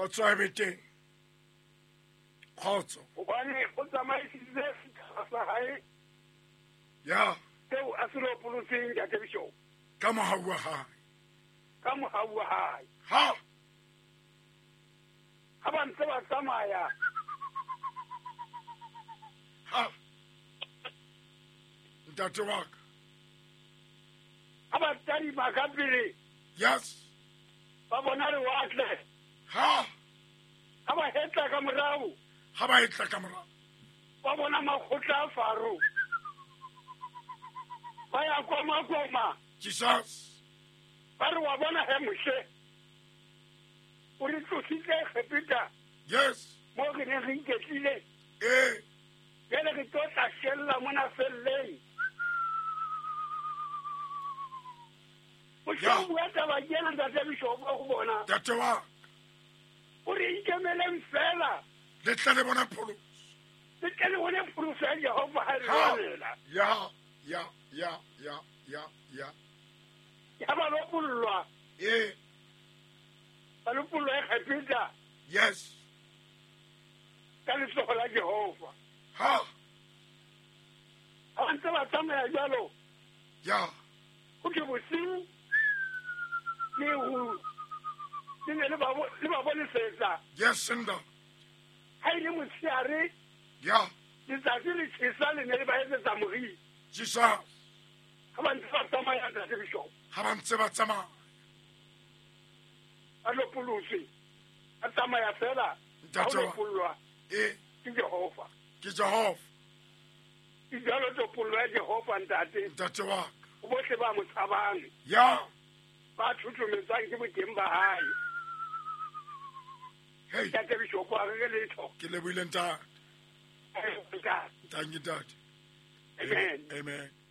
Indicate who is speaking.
Speaker 1: Kgotso e be teng. Kgotso.
Speaker 2: Hobane o tsamaisitse setjhaba sa hae.
Speaker 1: Ya.
Speaker 2: Seo a se lopolotseng, Ntate Bishop.
Speaker 1: Ka mohau wa hae.
Speaker 2: Ka mohau wa hae.
Speaker 1: Ha.
Speaker 2: Ha ba ntse ba tsamaya.
Speaker 1: Ha. Ntate wa ka.
Speaker 2: Ha ba tadima ka pele.
Speaker 1: Yes.
Speaker 2: Ba bona lewatle.
Speaker 1: Ha.
Speaker 2: Ha ba hetla ka morao.
Speaker 1: Ha ba hetla ka morao.
Speaker 2: Ba bona makgotla a Faro. Ba ya koma koma.
Speaker 1: Jesus.
Speaker 2: Ba re wa bona he Moshe. O re tlositse Egepeta.
Speaker 1: Yes.
Speaker 2: Mo re neng re iketlile.
Speaker 1: Eh.
Speaker 2: Jwale re tlo tla shella mona felleng. Moshe o bua taba ke ena, Ntate Bishop, go bona.
Speaker 1: Ntate wa.
Speaker 2: O re ikemeleng fela.
Speaker 1: Le tle le bone pholoso.
Speaker 2: Le tle le bone pholoso ya Jehova ha re lwanela.
Speaker 1: Ya, ya, ya, ya, ya, ya.
Speaker 2: Ya ba lopollwa.
Speaker 1: Eh.
Speaker 2: Ba lopollwa Egepeta.
Speaker 1: Yes.
Speaker 2: Ka letsoho la Jehova.
Speaker 1: Ha.
Speaker 2: Ha ntse ba tsamaya jwalo.
Speaker 1: Ya.
Speaker 2: Ho thwe bosiu le ho le ne le ba bonesetsa.
Speaker 1: Yes, nda.
Speaker 2: Ha ile motshehare.
Speaker 1: Ya.
Speaker 2: Letsatsi le tjhesa le ne le ba etsetsa moriti.
Speaker 1: Jesus.
Speaker 2: Ha ba ntse ba tsamaya, Ntate Bishop.
Speaker 1: Ha ba ntse ba tsamaya.
Speaker 2: Ba lopolotswe. Ba tsamaya fela.
Speaker 1: Ntate
Speaker 2: Ba lopollwa.
Speaker 1: Eh.
Speaker 2: Ke Jehova.
Speaker 1: Ke Jehova.
Speaker 2: Ke jalo topollo ya Jehova, ntate.
Speaker 1: Ntate wa ka.
Speaker 2: Bohle ba mo tshabang.
Speaker 1: Ya.
Speaker 2: Ba thuthumetswang ke boteng ba hae.
Speaker 1: Hey.
Speaker 2: Ntate Bishop, a re letho.
Speaker 1: Ke lebohile ntate.
Speaker 2: Ntate.
Speaker 1: Thank you, ntate.
Speaker 2: Amen.
Speaker 1: Amen.